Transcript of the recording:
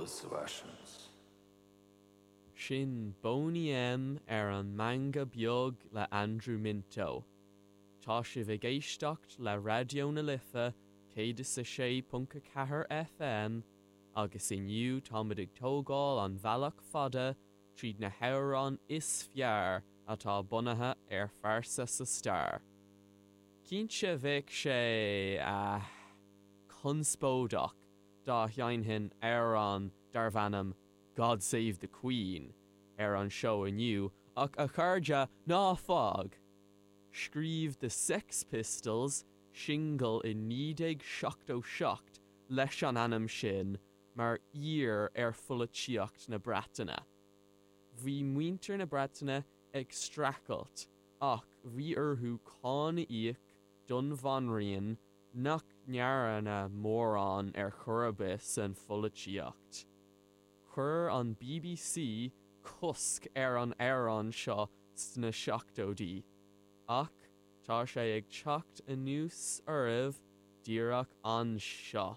those Russians. Sin Boney M ar an Meangadh Beag le Andrew Minto. Tá sibh ag éisteacht le Raidió na Life 106.4 FM agus inniu táimid ag tógáil an bhealach fada tríd na hamhráin is fearr atá bunaithe ar phearsa sa stair. Cinnte bheadh sé, eh, conspóideach dá sheinnfinn amhrán darbh ainm God Save the Queen ar an seó inniu ach a chairde, ná fág! Scríobh The Sex Pistols singil i 1977 leis an ainm sin mar aoir ar pholaitíocht na Breataine. Bhí muintir na Breataine ag streachailt ach bhí orthu cáin a íoc don bhanríon nach ndearna mórán ar chor ar bith san pholaitíocht. Chuir an bbc cosc ar an amhrán seo sna seachtóidí, ach tá sé ag teacht anuas oraibh díreach anseo.